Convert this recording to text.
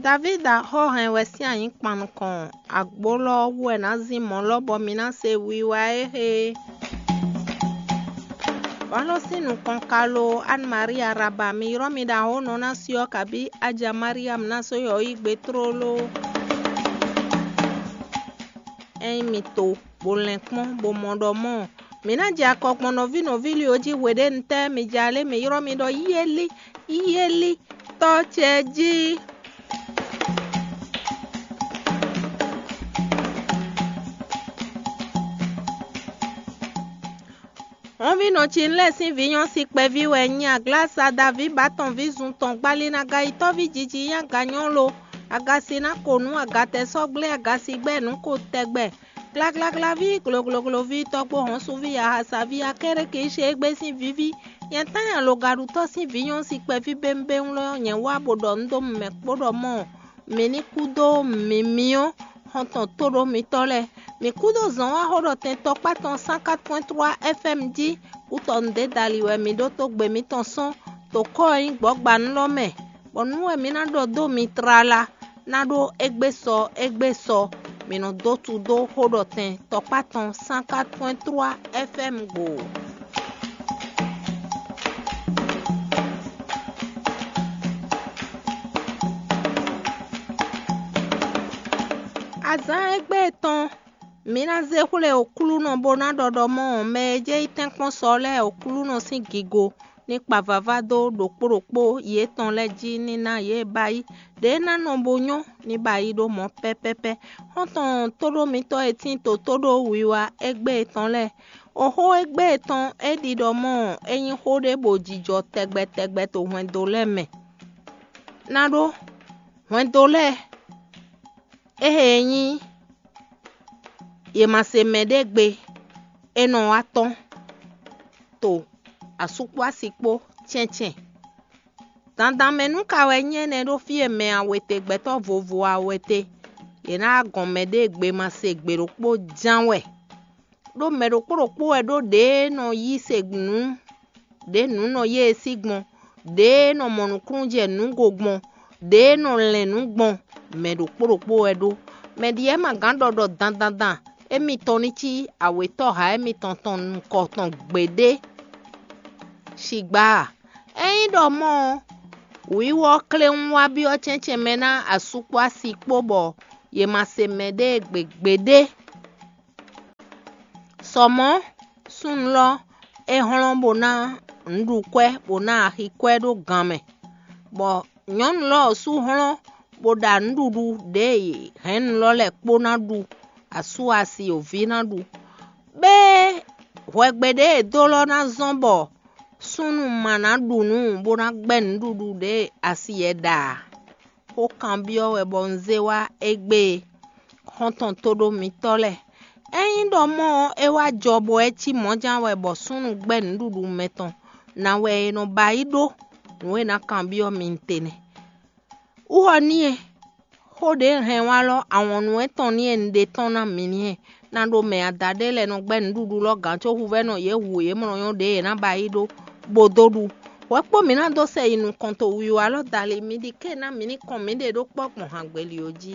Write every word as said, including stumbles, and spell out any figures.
Davída xó hɛn wɛ sín anyǐkpan nukɔn, agbólɔ wú wɛ nǎ zín mɔ̌ lɔ bɔ mi ná se wiwa éhe. Vǎ lɔ sín nukɔn ka lo Anne Marie Araba, mi ylɔ́ mi ɖo ahónɔ ná syɔ́ kabí Aja Mariam ná sɔ́ yɔ̌yí gbe tlóló. Ényí mi to, bó lɛ́n kpɔ́n, bó mɔ ɖɔ mɔ̌, mǐ ná jɛ akɔ gbɔn nɔví nɔví lí ɔ́ jí hweɖénu tɛ́ mi jɛ alé mi ylɔ́ mi ɖɔ yíyélí, yíyélí, tɔ́ ce jí. Hɔnvínɔ ce lɛ́ɛ sín vǐ nyɔ́ si kpɛví wɛ nyí aglasa Daví ba tɔn ví zun tɔn gbali ná ga yi tɔ́ví jiji nyí aga nyɔ́ lo. Agasi ná ko nǔ agatɛ sɔ́ gblé agasi gbɛ́ nǔ ko tɛgbɛ. Glaglaglaví, gloglogloví, tɔ́gbó hɔnsuví, ahasaví, akéré kì í ṣe égbé sín víví. Nyɛ tán nyi alogaɖutɔ́ sín vǐ nyɔ́ si kpɛví bémbéŋ lɔ nyɛ wá bó ɖɔ nǔ dó mɛ kpó ɖɔ mɔ́, mǐ ní kú dó mǐmí ɔ́, xɔntɔn tóɖó mitɔ́ lɛ́ɛ. Mǐ kú dó zɔ̌n wá xó ɖɔ tɛn tɔkpá tɔn cent quatre point trois F M jí, kútɔnu ɖě dali wɛ mǐ ɖótó gbe mǐtɔn sɔ́n, to kɔ́ e nyí gbɔ̌gbanú lɔ mɛ, bɔ nǔ wɛ mǐ ná ɖɔ dó mi tlala. Ná ɖó égbé sɔ égbé sɔ, mǐ nɔ dó tudó xó ɖɔ tɛn tɔkpá tɔn cent quatre point trois F M gbo. Azǎn égbé tɔn, mǐ ná zé xwlé Oklúnɔ bó ná ɖɔ ɖɔ mɔ́ mɛ e jɛ yi tɛ́nkpɔ́n sɔ lɛ́ɛ Oklúnɔ sín gigo ní kpa vava dó ɖokpó ɖokpó yětɔn lɛ́ɛ jí ní ná yě ba yí. Ɖě ná nɔ bo nyɔ́ ní ba yí ɖó mɔ̌ pɛ́pɛ́pɛ́. Xɔ́ntɔn tóɖó mitɔ́ e tín to tóɖó wiwa égbé tɔn lɛ́ɛ, oxó égbé tɔn é ɖi ɖɔ mɔ́ é nyí xó ɖé bó jijɔ tɛgbɛ tɛgbɛ to hwɛndo lɛ́ɛ mɛ. Ná ɖó hwɛndo lɛ́ɛ, éhe e nyí yě ma se mɛ ɖé gbe, é nɔ wá tɔ́n to asú kpó asi kpó cɛ́ncɛ́n. Dandan mɛ nú ka wɛ nyí énɛ́ ɖó fí e mɛ awetɛgbɛtɔ́ vovo awetɛ, yě ná wá gɔn mɛɖée gbe ma se gbe ɖokpó ján wɛ. Ɖó mɛ ɖokpó ɖokpó wɛ ɖó ɖě nɔ yí se nǔ, ɖě nǔ nɔ yé e sí gbɔn, ɖě nɔ mɔ nǔkúnnú jɛ nǔgo gbɔn, ɖě nɔ lɛn nǔ gbɔn, mɛ ɖokpó ɖokpó wɛ ɖó. Mɛ ɖi ma gǎn ɖɔ ɖɔ dandandan émítɔn ní cí awětɔ́ha émítɔn tɔn nukɔn tɔn gbeɖé. Sigba a? Ényí ɖɔ mɔ́ ɔ́, wǐwɔ kléwún wá byɔ́ cɛ́ncɛ́n mɛ ná asú kpó asi kpó bɔ yě ma se mɛɖée gbe gbeɖé. Sɔ mɔ̌, súnnu lɔ é hlɔ́n bó ná nǔɖukwɛ́ bó ná axikwɛ́ ɖó gan mɛ, bɔ nyɔ̌nu lɔ sú hlɔ́n bó ɖa nǔɖuɖu ɖě e hɛ̌nnu lɔ lɛ́ɛ kpó ná ɖu, asú asi oví ná ɖu. Bɛ́ hwɛgbe ɖě e dó lɔ ná zɔ́n bɔ súnnu ma ná ɖu nǔ bó ná gbɛ́ nǔɖuɖu ɖě e asi yɛ ɖa ǎ. Xó kanbyɔ́ wɛ bɔ un zé wá égbé e, xɔ́ntɔn tóɖó mitɔ́ lɛ́ɛ. Ényí ɖɔ mɔ́ ɔ́, é wá jɔ bɔ é cí mɔ̌ján wɛ bɔ súnnu gbɛ́ nǔɖuɖu mɛtɔn, ná wɛ è nɔ ba yí ɖó nǔ e ná kanbyɔ́ mi tɛnɛ. Wú ɔ́ n'i e, xó ɖě un hɛn wá lɔ awɔnnu etɔn n'i e un ɖe tɔ́n ná mi n'i e, ná ɖo mɛ adaɖé lɛ́ɛ nɔ gbɛ́ nǔɖuɖu lɔ gǎn có huvɛ́nɔ yě hu yě mlɔ nyɔ́ ɖě yě ná ba yí ɖó bó dó ɖu. Hwɛ kpó mǐ ná dó sɛ yi nukɔn to wiwa lɔ dali mi ɖi ké ná mi ní kɔn mǐɖée ɖó kpɔ́ gbɔn hangbeli ɔ́ jí.